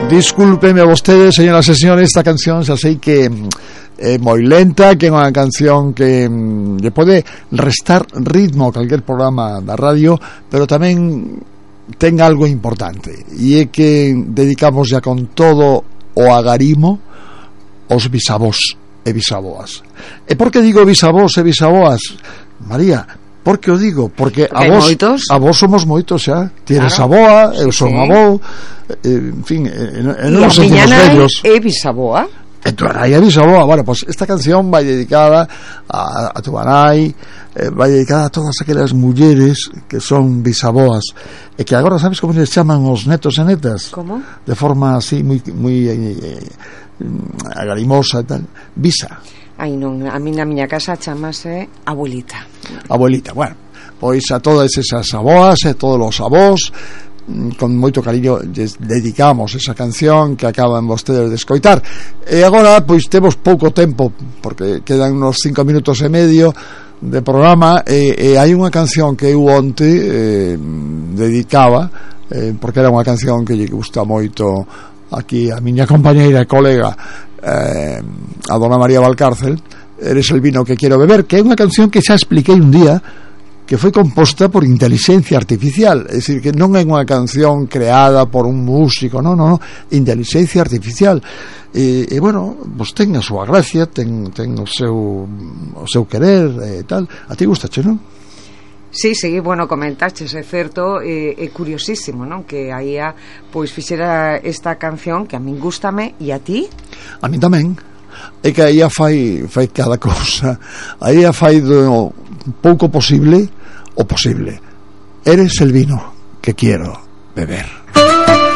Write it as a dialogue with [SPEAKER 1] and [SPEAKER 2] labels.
[SPEAKER 1] Discúlpeme vostedes, señoras e señores, esta canción xa sei que é moi lenta, que é unha canción que lle pode restar ritmo a calquer programa da radio, pero tamén ten algo importante, e é que dedicamos ya con todo o agarimo aos bisavós e bisaboas. E por que digo bisavós e bisaboas, María? Por que o digo? Porque a vos somos moitos xa. Tienes claro. Aboa, eu son avó, en fin, non nos sentimos vellos.
[SPEAKER 2] E bisaboa?
[SPEAKER 1] E tu nai é bisaboa. Bueno, pues esta canción vai dedicada a tu nai, vai dedicada a todas aquelas mulleres que son bisaboas e que agora sabes como les chaman os netos e netas?
[SPEAKER 2] Como?
[SPEAKER 1] De forma así moi agarimosa e tal. Bisa.
[SPEAKER 2] Ai non, a mí na miña casa chamase abuelita.
[SPEAKER 1] Abuelita, bueno, pois a todas esas aboas e todos os avós, con moito cariño les dedicamos esa canción que acaban vostedes de escoitar. E agora, pois temos pouco tempo, porque quedan unos 5 minutos e medio de programa, e hai unha canción que eu onte dedicaba, porque era unha canción que lle gusta moito aquí a miña compañeira e colega, a dona María Valcárcel, Eres el vino que quiero beber, que é unha canción que xa expliquei un día, que foi composta por inteligencia artificial, é dicir, que non é unha canción creada por un músico, non, inteligencia artificial, e bueno, pues ten a súa gracia, ten o seu querer e tal. A ti gustache, non?
[SPEAKER 2] Sí, bueno, comentaches, é certo, é curiosísimo, non? Que aí pois fixera esta canción que a min gústame, e a ti?
[SPEAKER 1] A min tamén. É que aí fai cada cousa. Aí fai do pouco posible o posible. Eres el vino que quiero beber.